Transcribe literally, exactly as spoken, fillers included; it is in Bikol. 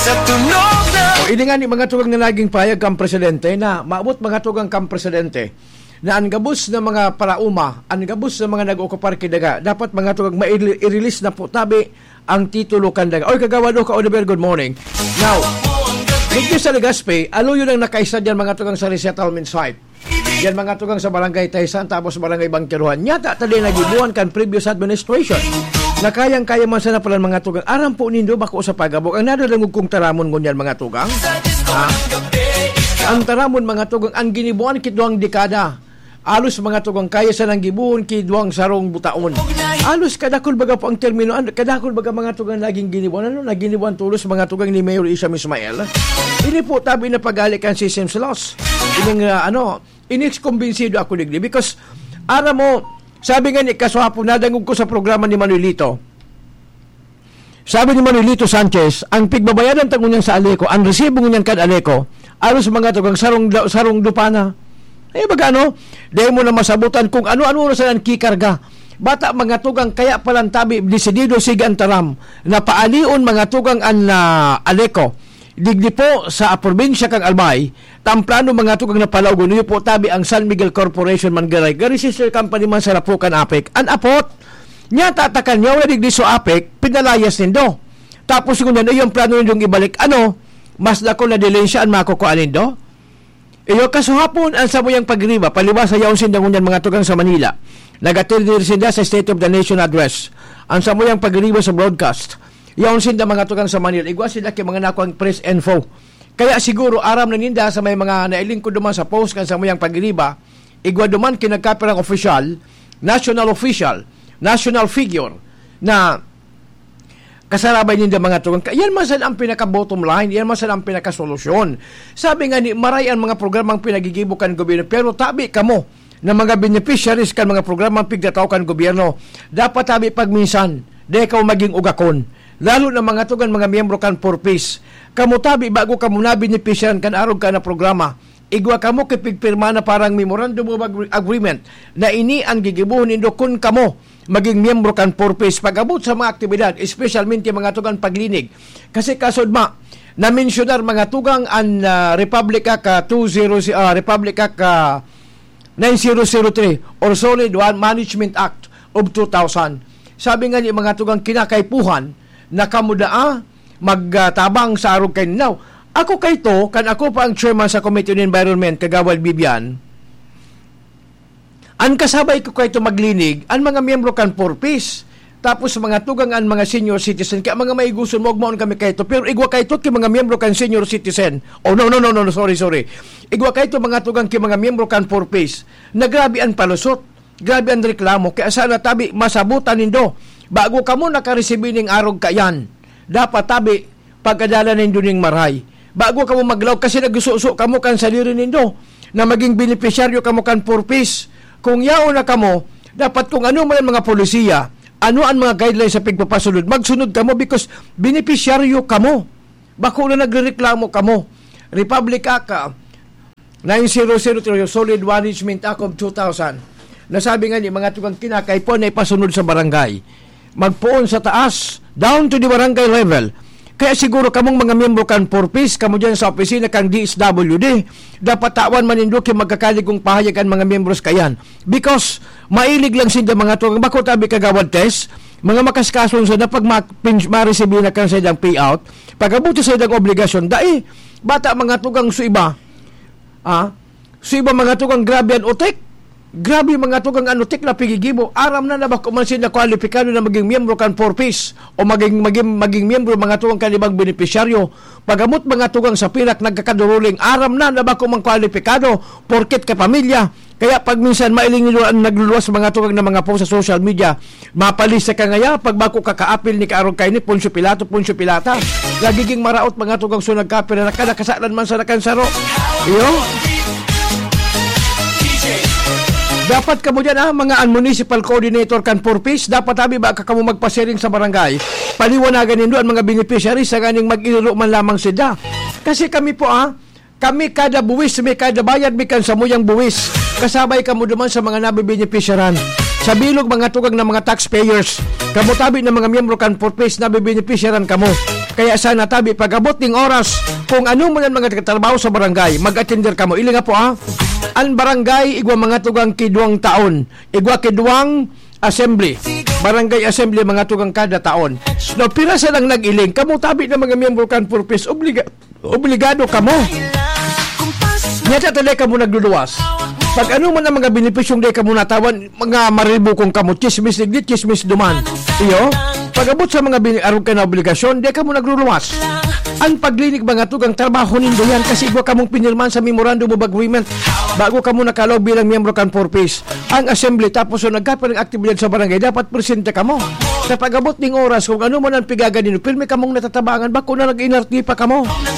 O, ini nga ni mga tugang na naging pahayag kan presidente na maabot mga tugang kan presidente na ang gabos na mga paraoma, ang gabos na mga nag-ookupar ki daga, dapat mga tugang ma-, i-release na po tabi ang titulo kan daga. Oy, Kagawad Oka Oliver, good morning. Now, dito sa Legazpi, aluyon ang nakaisa diyan mga tugang sa resettlement site. Yan mga tugang sa Barangay Taysan, tapos Barangay Bangkiruhan. Nyata, tali nagibuhan kan previous administration. Na kayang-kaya man sana pala mga tugang. Aram po nindo, bako sa pagabog. Ang nadadangog kong taramon ngunyan mga tugang. Ha? Ang taramon mga tugang, ang ginibuhan ki duwang dekada. Alos mga tugang kaya sa nang gibuhon ki duwang sarong butaon. Alos kadakol baga po ang termino, ano, kadakol baga mga tugang naging ginibuhan. Ano, naginibuhan tulos mga tugang ni Mayor Isham Ismail. Ini po tabi na pagali kan Sessions Laws. Ining, ah, ano, inis kumbinsido ako digdi. Because, aram mo, sabi nga ni Kaswapo, nadangog ko sa programa ni Manuelito. Sabi ni Manuelito Sanchez, ang pigbabayadan ta ngunyan sa Aleco, ang resibo ngunyan kan Aleco, aros mga tugang sarong, sarong dupa na. Eh, baga ano, dahil mo na masabutan kung ano-ano na sila ang kikarga. Bata mga tugang, kaya palang tabi, desidido sige ang taram, na paalion mga tugang an, ah, Aleco. Digdi po sa probinsya kan Albay, ta ang plano mga tugang na palaugon, iyo po tabi ang San Miguel Corporation man garay, gari sister company man sa Lapukan Apek. An apot, niya tatakan niya, wala digdi so Apek, pinalayas nindo. Tapos ngunyan, iyo ang plano nindong ibalik, ano, mas dakul na dilensya an makukuha nindo? Iyo, kasuhapon, ang samuyang pagriba, palibasa yaon sinda ngunyan mga tugang sa Manila. Nag-attend din sinda sa State of the Nation Address. Ang samuyang pagriba sa broadcast. Yaon sinda mga tugang sa Manila. Igwa sila ki mga nakuang press info. Kaya siguro aram na ninda sa may mga nailingkod duman sa post kan samuyang pagriba, igwa duman ki nagkapirang opisyal, national official, national figure, na kasarabay ninda mga tugang. Ka-, yan man sana ang pinaka-bottom line, yan man sana ang pinaka-solusyon. Sabi nga ni, maray ang mga programang pinagigibo kan gobyerno, pero tabi kamo na mga beneficiaries kan mga programang pigtatao kan gobyerno, dapat tabi pagminsan, dai kamo maging ugakon. Lalo na mga tugang, mga miyembro kan Four Ps. Kamo tabi, bago kamo nabenepisyaran kan arog ka na programa, igwa kamo ki pigpirma na parang memorandum of agre-, agreement na ini ang gigibohon nindo kun kamo maging miyembro kan Four Ps. Pag-abot sa mga aktibidad, espesyalmente mga tugang paglinig. Kasi kasudma, na-mensionar mga tugang an, ah, Republic Act, ah, two zero, ah, Republic Act, ah, nine zero zero three or Solid Waste Management Act of two thousand. Sabi nga ni mga tugang kinakaipuhan na kamo daa magtabang sa arog kan Now, ako kayto, kan ako pa ang chairman sa Committee on Environment, Kagawad Bibian, an kasabay ko kayto maglinig, an mga miyembro kan Four Ps, tapos mga tugang an mga senior citizen, kaya mga maiguson mo, magmaon kami kayto, pero igwa kayto ki mga miyembro kan senior citizen. Oh, no, no, no, no, no, sorry, sorry. Igwa kayto mga tugang ki mga miyembro kan Four Ps, na grabe an palusot. Grabe an reklamo, kaya sana tabi masabutan nindo. Bago kamo nakaresibi ning arog kayan, dapat tabi pagkadala nindo ning maray. Bago kamo maglaog, kasi nagsuso kamo kan sadiri nindo na maging benepisyaryo kamo kan Four Ps. Kung yaon na kamo, dapat kung ano man ang mga polisiya, ano ang mga guidelines sa pigpapasunod, magsunod kamo because benepisyaryo kamo. Bako na nagrereklamo kamo. Republic Act, ah, nine zero zero three, Solid Waste Management Act of two thousand. Nasabi nga ni mga tugang kinakaipuhan na ipasunod sa barangay. Magpoon sa taas, down to the barangay level. Kaya siguro kamong mga miyembro kan Four Ps, kamo dyan sa opisina kan D S W D, dapat tawan man nindo ki magkakaligong pahayag an mga miyembros kayan. Because mailig lang sinda mga tugang, bako tabi Kagawad Tess, mga makaskason sa na pag ma-, pin-, maresibi na kan sa ilang payout, pag-abot sa ilang obligasyon, dai, bata mga tugang sa iba, ah, sa iba mga tugang grabe an utik. Grabe mga tugang an utik na pigigibo. Aram na na bako man sila kwalipikado na maging miyembro kan Four Ps o maging, maging, maging miyembro mga tugang kan ibang benepisyaryo. Pag-abot mga tugang sa pinak nagkakaduruling, aram na na bako man kwalipikado, porket kapamilya. Kaya pag minsan mailing nila ang nagluluwas mga tugang na mga post sa social media, mapalisa ka ngaya, pag bako kakaapil ni kaarog kaini, Poncio Pilato, Poncio Pilata. Nagiging maraot mga tugang so nagkapira na kada kasalan man sa nakansaro. Iyo? Dapat kamo dyan, ah, mga municipal coordinator kan Four Ps, dapat abi ba ka kamo magpasiring sa barangay? Paliwanagan nindo ang mga beneficiaries sa ganing mag-iriro man lamang sila. Kasi kami po, ah, kami kada buwis, may kada bayad, may kan samuyang buwis. Kasabay kamo duman sa mga nabibenepisyaran. Sa bilog, mga tugang na mga taxpayers. Kamo tabi na mga miyembro kan Four Ps, nabibenepisyaran kamo. Kaya sana tabi pag-abot ning oras, kung ano man ang mga trabaho sa barangay, mag-attender kamo. Ili nga po, ha? Ang barangay, igwa mga tugang kidwang taon. Igwa kidwang assembly. Barangay assembly, mga tugang kada taon. No, pira sa lang nag-iling. Kamo tabi na mga miyembro kan Purpose, obliga-, obligado kamo. Nya ta, dai kamo nagluluwas. Pag ano man ang mga benepisyong dai kamo natawan, mga maribukong kamo, chismis digdi, chismis duman. Iyo, pag-abot sa mga bini-, arog ka na obligasyon, dai kamo nagluluwas. Ang paglinig, mga tugang, trabaho nindo yan kasi igwa kamong pinirmahan sa Memorandum of Agreement bago kamo nakalaog bilang miyembro kan Four Ps. Ang assembly, tapos so nagkapirang aktibidad sa barangay, dapat presente kamo. Sa pag-abot ning oras, kung ano man ang pigaga ninyo, pirmi kamong natatabangan, bako na nag-inarte pa kamo.